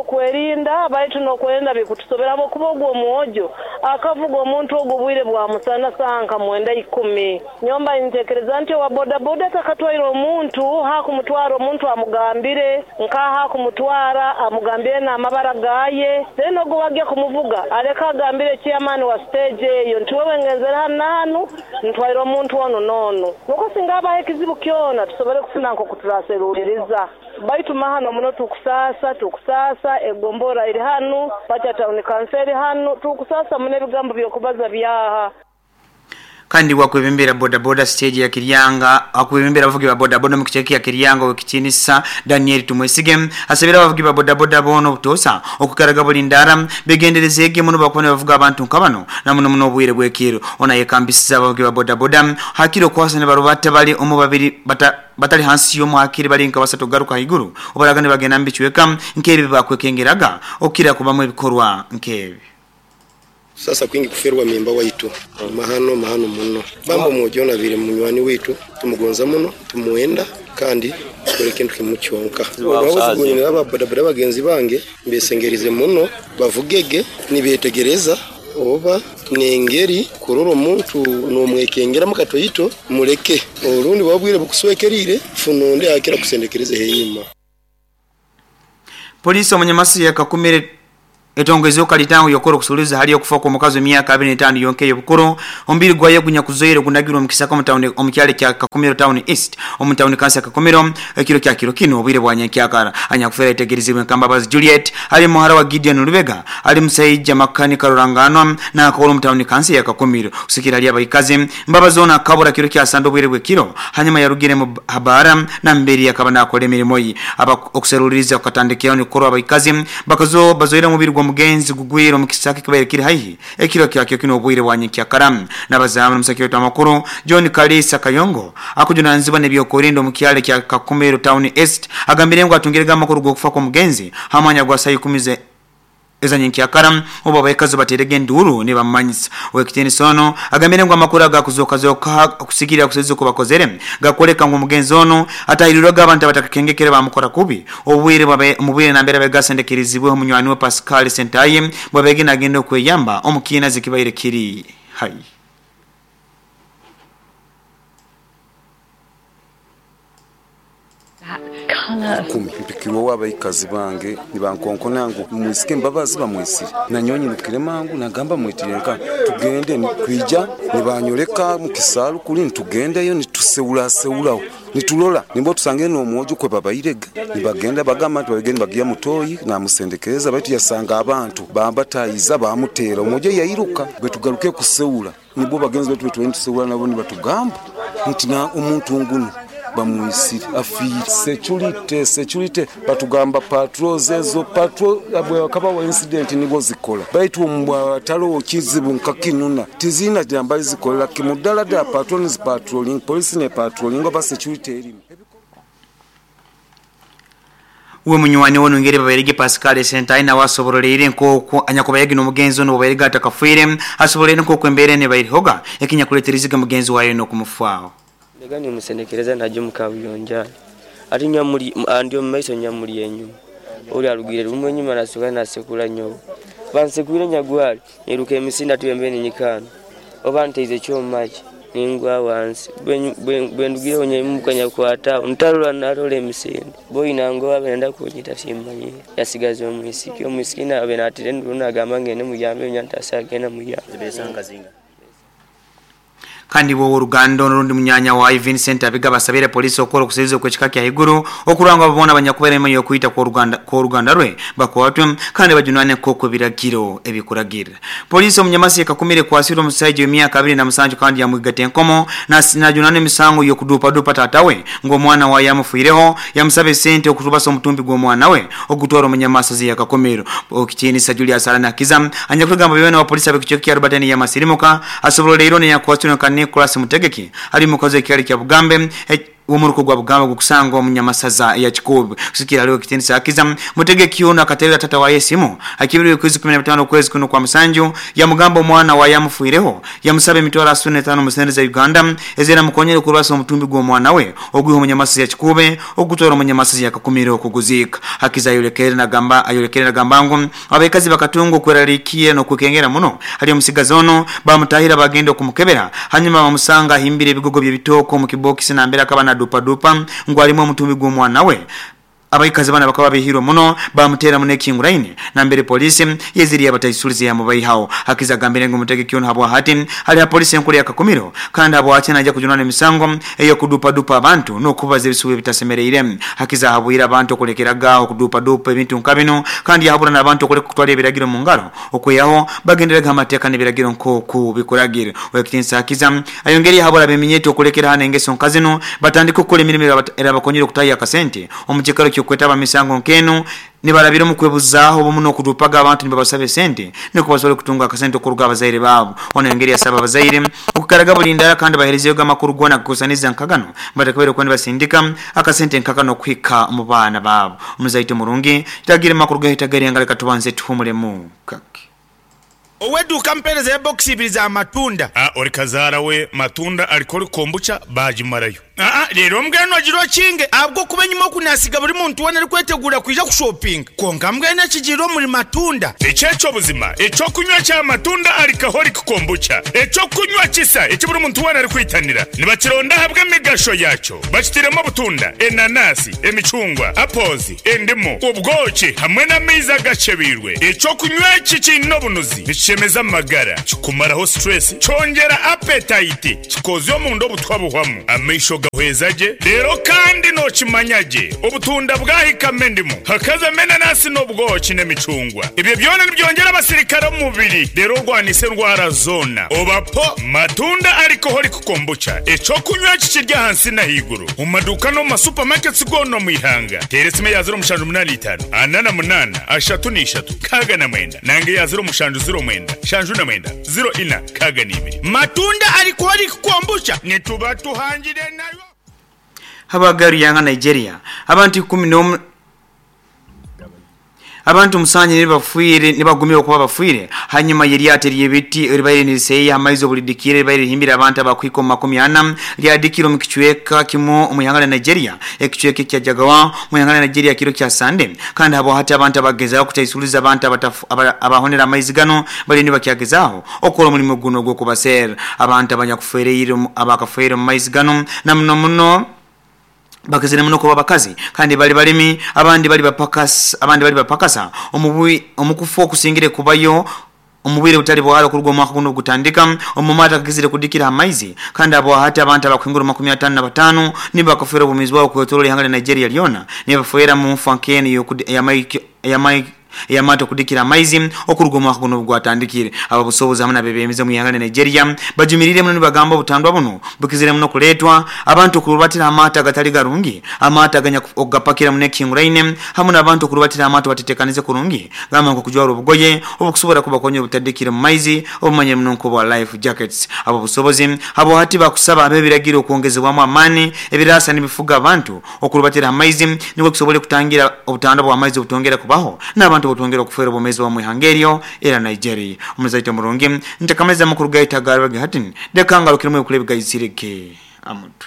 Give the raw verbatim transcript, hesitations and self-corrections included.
Okwerinda baitu n'okwerinda bikutusobera habwokuba ogwo omwojo akavuga omuntu ogwo obwire bwa musana saaha nka mwenda ikumi. Nyomba ntekereza nti owa bodaboda atakatwaire omuntu hakumutwara omuntu amugambire nkaha akumutwara amugambire n'amabara gaye, then ogwo wagya kumuvuga aleka agambire chairman wa stage eyo nti wewe ngenzere hanu na hanu ntwaire omuntu onu n'onu, nuko singa habaho ekizibu kyona tusobole kufuna nk'oku turaseruuliriza. Baitu mahano muno tukusasa tukusasa egombora iri hanu Pacha Town Council hanu tukusasa muno ebigambo by'okubaza byaha. Kandi wakwebembera bodaboda stage ya Kiryanga akwebembera abavugi ba bodaboda mu kicheki ya Kiryanga wekitinisa Daniel Tumwesige asabira abavugi ba bodaboda bono obutosa okukaraga buli ndara begenderezege muno bakubona bavuga abantu nkabano na muno muno obwire bwekiro. Ona yekambisiza abavugi ba bodaboda hakiro kwasa ne barubata bali omu babiri bata batali hansi yo muhakiri bali nka basatu garuka higuru obaragane bagenda mbichweka nkebi bakwekengeraga okira kubamu ebikorwa nkebi. Sasa kwingi kuferwa mimba waitu mahano mahano muno bambo mujona bire munywani witu tumugonza muno tumuenda kandi kore kintu kimucyonka wabuze aba bodaboda bagenzi bange mbesengerize muno bavugege nibetegereza oba nengeri kurora omuntu nomwekengera mukatoyito muleke orundi wabwire bukuswekerire funonde akira kusendekereze henyuma. Polisi omunyamasi yakakumire etongezo kalitango yokoro kusuliza hali yokufa kwa mukazi miaka abiri na tano yonke yobukuru ombiri gwaye gunyakuzoire gunagirwa mukisaka mu omukyale kya Kakumiro Town East omu town kansa Kakumiro ekiro kya kiro kino obwire bwa nyankyakara anyakufera itegerezibwe Nkambabazi Juliet ali muhara wa Gideon Lubega ali musayija makanika ruranganwa na akoro mu town kansa ya Kakumiro kusikira ali abayikazi Mbabazi ona kabura kiro kya sando obwire bwe kiro hanyuma yarugire mu habara na mberi yakaba nakole emirimo yi aba okuseruliriza okatandikira ni koro abayikazi bakazo bazoire mubiri gwa mugenzi gugwiro mukisaka kibaire kiri haihi ekiro kyakyo kino obwire bwanyinkyakara n'abazamu musakiro tamakuru John Kalisa Kayongo akujunanzibwa n'ebyokurinda omukyale kya Kakumiro Town East agambire ngo atungire amakuru g'okufa kwa mugenzi hamanya gwa saa kumi ze ezanyikyakara obo abayikazi baterege nduru ne bamanyisa wekiteni sono agambire ngo amakuru agakuzoka zoka kusikira kusezo kubakozere gakoleka ngo mugenzi ono atahirirwaga abantu abatakakengekere bamukora kubi obwire babe mubwire nambere begasendekirizibwe munywani wa Pascal Sentaye bwabege nagenda okweyamba omukina zikibaire kiri hai. Kumi mpikirwa w'abayikazi bange nibankonkona ngu mwisike Mbabazi bamwisire nanyonyi nukire mangu nagamba mwitirenka tugende nikwija nibanyoleka mukisalu kuli nitugendeyo nituseula seulaho nitulola nimbo tusange n'omwojo kwe babairega nibagenda bagamba nti babigende bagiya mutoyi namusendekereza baitu yasanga abantu bambatayiza bamutera omwojo yairuka bwetugaruke kuseula nibo bagenzi betu betwe nituseula nabo nibatugamba nti na omuntu nguno bamwisire afire security security batugamba patrols ezo patrol abwe akaba wa incident nibo zikola baitu omwatalo kizibu nkakinuna tizina jamba zikola kimudala da patrols patrolling police ne patrolling oba security erimu. Uwe munywani wono ngere baberege Pascal Sentai na wasoborolere nkoko anyakubayagi n'omugenzi ono baberege atakafuire asoborere nkoko embere ne bayirihoga ekinyakuleteriziga mugenzi wayo n'okumufaaho. Ndegani musendekereza naje mukabuyonja ati nyamuli andio maiso nyamuli enyuma oli alugire rumwe nyuma nasuka nasekula nyobo bansekwire nyagwali niruka emisinda tuyembeni nyikano oba nteize kyomaji ningwa wansi bwendugire onye mukanya kwata ntalula nalole emisinde boyina ngo abenda kunyita simmanyi yasigaza omwisiki omwisiki nabe natire nduna agamba ngene muyambe nyantasagenda muyambe besanga zinga. Kandi wo urugando n'urundi munyanya wa Vincent abiga basabire polisi okoro kusizo kwechika kya higuru okuranga babona banyakubere yo kuita kwa Ruganda kwa Ruganda rwe bakwatwe kandi bajunane koko biragiro ebikuragira. Polisi omunyamasi yakakumire kwasira omusajja w'emyaka abiri na musanju kandi yamwigate enkomo na najunane misango yo kudupa dupa tatawe ngo mwana wa yamufuireho yamusabe sente okutubasa omutumbi gw'omwana we ogutwara omunyamasi yakakomero okitinisa Julius Alana Kiza anyakugamba bibene wa polisi abekichoko kya Rubatani yamasirimuka asobola leero ne yakwasira kan Nicholas Mutegeki ali mukoze kyali kya Bugambe Omuruko gwa Bugamba gukusanga omunyamasaza ya Kikubi kusikira aliwo ekitiinisa akiza mutegeki ono akaterera tata wa esimu akibiri kwezi kumi na bitano kwezi kuno kwa musanju yamugamba omwana wa yamufuireho yamusaba emitwalo asatu n'etaano mu sente za Uganda ezera mukonyere okurwasa omutumbi gw'omwana we ogwiha omunyamasaza ya Kikube ogutwara omunyamasaza ya Kakumiro okuguziika. Hakiza ayolekere nagamba ayolekere nagamba ngu abakazi bakatunga okweraliikire n'okwekengera muno hali omusigazi ono bamutahira bagenda okumukebera hanyuma bamusanga ahimbire ebigogo by'ebitooko mu kibokisi nambere akaba na dupa ngu alimu omutumbi gw'omwana we. Abaikazi bana bakaba behirwe muno bamutera mu nekinguraine nambere polisi yeziri abataisulize yamubaihawo. Hakiza gambire ngu mutegeki ono habwa hati hali ha polisi enkuru ya Kakumiro kandi habwa hati najja kujunana emisango eyo kudupa dupa abantu n'okubaza ebisubi bitasemereire. Hakiza habwira abantu okulekeraga okudupa dupa ebintu nka bino kandi yahabura n'abantu okuleka kutwala ebiragiro mu ngaro okweyaho bagenderega amateeka n'ebiragiro nk'oku bikuragire. Owekitinsa Hakiza ayongeri yahabura abeminyeto okulekera hano engeso nka zino batandika okukola emirimu erabakonyera okutaayo akasente omu kikaro ky'okwetaba misango nkeno nibarabira mu kwebuzaaho obumu n'okudupaga abantu nibabasaba esente niko basobole kutunga akasente okuruga abazaire baabo. Ono engeri yasaba abazaire okukaraga buli ndala kandi baherezeyo amakuru goona kukusaniza nkagano batakabere okuba nibasindika akasente nkakano okuhika mu baana baabo. Omuzaite murungi kitagire amakuru gahitagere nga tubanze tuhumulemu kake. Oweduka mpereza ya box ibiri za matunda. Ah, ori kazara we matunda alikori kombucha bajimarayo. Ah, rero mbweno agiro kinge abwo kuba nyuma kunasiga buri muntu wona ari kwetegura kwija kushopping. Konka mbwene kigiro muri matunda. Echecho buzima, echo kunywa cha matunda alikahori kombucha. Echo kunywa kisa eki buri muntu wona ari kwitanira. Nibakironda habwe emigasho yacho. Bakitiremo butunda, enanasi, emicungwa, apples, endimu, ubwoki hamwe n'amaizi agacebirwe. Echo kunywa iki kino bunuzi. Nichemeza amagara, kikumaraho stress, cyongera appetite, kikozyo mu ndo butwabuhwamu. Amaisho gahwezaje, rero kandi no kimanyaje. Obutunda bwahikame ndimu, hakaza menanasi n'ubwoki n'emicungwa. Ibyo byona nibyongera abasirikare mu mubiri, rero rwanise ndwara zona. Obapo matunda alcoholic kombucha. Echo kunywa kikirya hansi na higuru. Mu maduka no mu supermarkets gono mu ihanga. Teresime ya zero mushanju munani itanu, anana munana, ashatu n'ishatu, kaga na mwenda. Nange ya zero mushanju zero mwenda, shanju na mwenda, zero ina, kaga n'ibiri. Matunda alcoholic kombucha nituba tuhangire nayo. Habagaru yanga Nigeria abantu kumi n'omu abantu musanye nibafuire nibagumira okuba bafuire hanyuma yeryate ryebiti ribaire niseya amaizo bulidikire ribaire himbira abantu abakwiko makumi ana lyadikiro mu kichweka kimu omuyanga la Nigeria ekichweka kya Jagawa muyanga la Nigeria kiro kya Sande kandi habo hati abantu abagezaho kutaisuliza abantu abahonera amaizi gano bali nibakyagezaho okola omulimu guno gw'okubasera abantu abanyakufereire abakafuire mu maizi gano na muno muno bakazire muno kuba bakazi kandi bali balimi abandi bali bapakasa abandi bali bapakasa omubui omukufu okusingire kubayo omubwire butali bwalo kurugwa mwaka guno gutandika omumata kizire kudikira amaizi kandi abo hati abantu abakwingura makumi atano na batano nibakafera obumizi bwabo kwetorola ihanga la Nigeria lyona nibafuera mu mfankeni ya mai ya mai yamato kudikira amaizi okurugo mwaka guno gwatandikire aba busobozi hamwe nabebemize mu ihanga la Nigeria bajumirire muno nibagamba obutandwa buno bukizire muno kuletwa abantu kurubatira amata agatali garungi amata aganya ogapakira mu nekinguraine hamwe n'abantu kurubatira amata batetekanize kurungi gamba nko kujwara obugoye obukusobora kubakonya obutadikira mu maizi obumanye muno nko bwa life jackets. Abo busobozi abo hati bakusaba abebiragiro okwongezebwamu amani ebirasa nibifuga abantu okurubatira amaizi nibwo kusobole kutangira obutandwa bwa amaizi obutongera kubaho n'abantu butongera okufuera obumezi wa mwihangerio era Nigeria. Omuzaito murungi ntakamaliza makuru gaita garwa gahatin dekanga lukirimo okulebiga izireke amuntu.